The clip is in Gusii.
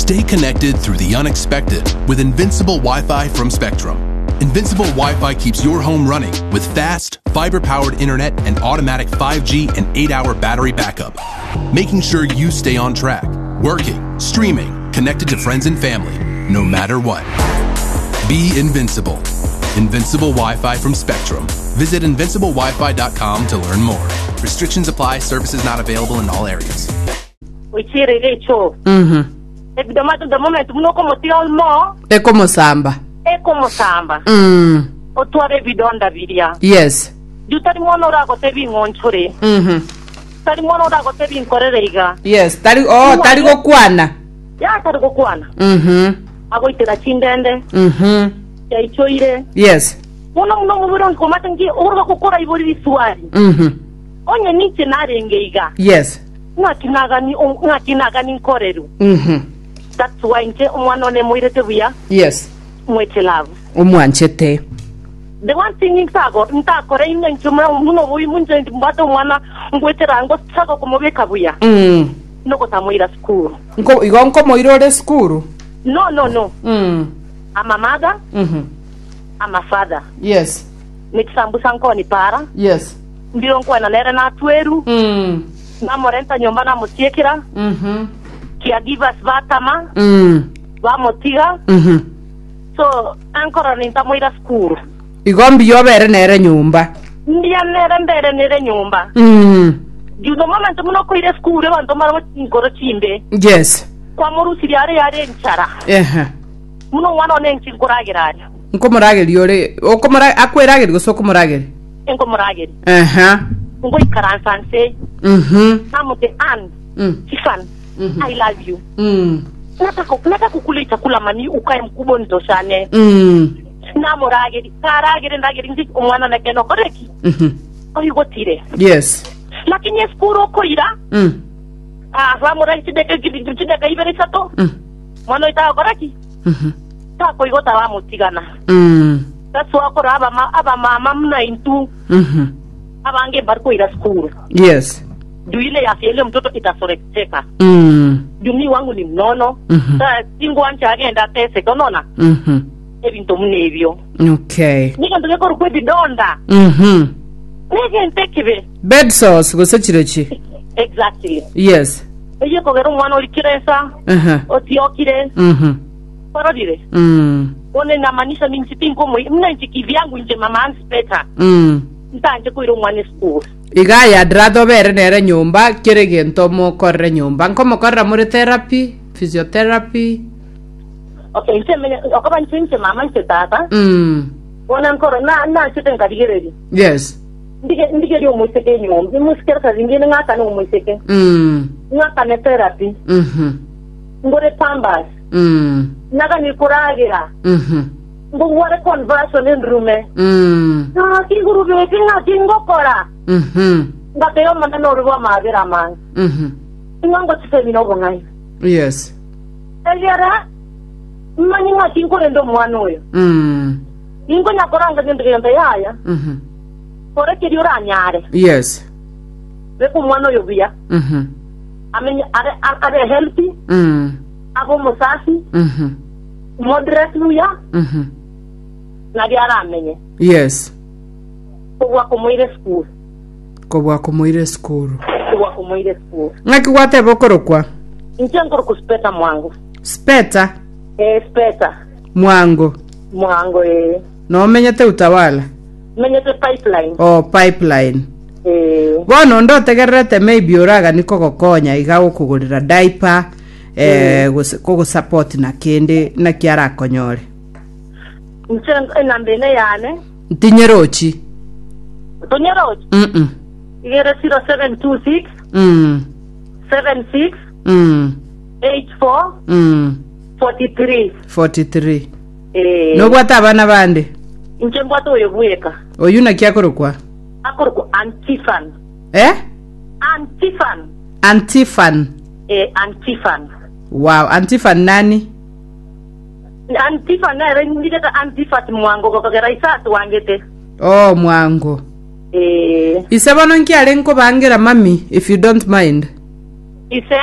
Stay connected through the unexpected with Invincible Wi-Fi from Spectrum. Invincible Wi-Fi keeps your home running with fast, fiber-powered internet and automatic 5G and 8-hour battery backup, making sure you stay on track, working, streaming, connected to friends and family, no matter what. Be invincible. Invincible Wi-Fi from Spectrum. Visit invinciblewifi.com to learn more. Restrictions apply. Services not available in all areas. Oichire echoo. Mhm. Ebidomato the moment buna okomotiga mo Ekomosamba. ekomosamba Mm. otware ebidonda biria. Yes. Riu tari mwana oragotebi ing'onchore, Mhm. tari mwana oragotebi inkorere iga. Yes, tari oh, tari gokwana. Ya tari gokwana. Mhm. Agoitera chindende, Mhm. chiaichoire. Yes. Bono buna omobere onsi komate nki oroka gokora ibori riswali. Mhm. Onye ninche narenge iga. Yes. Ng'aki nagani ng'aki nagani nkorerwe. Mhm. That's why inche omwana one moirete buya. Yes. Mwete love. Omwanchete. The one thing ntago ntakore inwe inche muna buna oboimu inche mbwate omwana ngwetera ngochaka komobeka buya. Mm. Nogotamoira sukuru. Nko igo nkomoira ore sukuru? No no no. Mm. I'm a mother. Mhm. I'm a father. Yes. Ne chisambusa nkoni para. Yes. Mbiro nkwana nere natweru. Mm. Namorenta nyomba namotiekera. Mhm. Caregivers batama. Mm. Bamotiga. Mhm. So ankorora nintamoira sukuru. Igo mbuya obere nere nyomba. Mbuya nere mbere nere nyomba. Mm. Due the moment buna okoira esukuru abanto mbare chinkoro chimbe. Yes. Kwamorusirie are yare enchara. Ehe. Buna omwana one inche nkoragera aria. Nkomorageria ore okomora akwerageria gose okomorageria? Inkomorageria. Ehe. Ngoikaransa nse. Mhm. Namote Ann. Mm. Stephen. Mhm. I love you. Mm. Nataka nataka kukula chakula mami ukae mkubwa nitoshane. Mm. Namorageri karagere ndageri nchi omwana nake nokoreki. Mhm. Oigotire. Yes. Lakini esukuru okoira Mm. ah bamoragi chideka chideka ibere isato. Mm. Mwana oyo tagokora ki? Mhm. Takoigota bamotigana. Mm. That's why okora abama abamama muna intwe Mhm. abange mbari koira sukuru. Yes. Juu ile afya ile mtoto itasorekeka. Mm. Juu mi wangu ni mnono. Mhm. Sa tingwancha agenda ateseke onona Mhm. ebinto buna ebio. Okay. Negento gekorokwa ebidonda. Mhm. Negento ekibe. Bed sores gose chirochi. Exactly. Yes. Eyio ekogera omwana orikire ensa, Aha. otiokire, Mhm. kwarorire? Mm. Bono inamaanisha ninche tinkomoi, buna inche kivyangu inche mama Anspeta, Mm. ntanche koira omwana esukuru. Iga aye I'd rather obere nere nyomba kera egento omokorere nyomba. Nkomokorera more therapy, physiotherapy. Okay, inche menye, okoba inche inche mama inche tata, Mm. bono nkoro na nachete nkarigereria. Yes. Ndige ndigerie omoiseke enyomba, omoiseke reka ringende ng'akane omoiseke, Mm. ng'akane therapy, Mhm. ngore pampers, Mm. naganie koragera, Mhm. ngogware conversion endurume. Mm. Ng'aki ngurubeti ng'aki ngokora. Mhm. Ngateba Omonene ore bw'amaabera amange, Mhm. ing'o ngochisemia nobong'aini. Yes. Egera manye ng'aki nkorenda omwana oyo. Mm. Ninkonya koranga gento gento yaya, Mhm. kora keria oranyare. Yes. Beka omwana oyo buya, Mhm. amenye are, abe healthy, Mm. abe omosafi, Mhm. modress buya, Mhm. nario aramenye. Yes. Kobua komoira esukuru. Kobua komoira esukuru. Kobua komoira esukuru. Ng'aki gwateba okorokwa? Inche nkorokwa Speta Mwango. Speta? Ee, Speta. Mwango. Mwango, ee. Nomenyete Utawala? Menyete Pipeline. Oh, Pipeline. Ee. Bono onde otegererete maybe oragani kogokonya iga gokogorera diaper, eh, gose kogosupport na kende naki arakonyore. Inche enamba ene yane. Ntinyerochi. Tonyerochi? Mm-mm. Iga ere 0726 Mm. 76 Mm. 84 Mm. 43. 43. Eh. Nobwate abana bande? Inche mbwate oyo bweka. Oyio naki akorokwa? Akorokwa Antifan. Eh? Antifan. Antifan. Eh, Antifan. Wow, Antifan nani? Antifa nere ndigete Antifat mwango gokogera ise atwangete. Oh, mwango. Eh. Ise bono nki are nkobangera mami if you don't mind? Ise.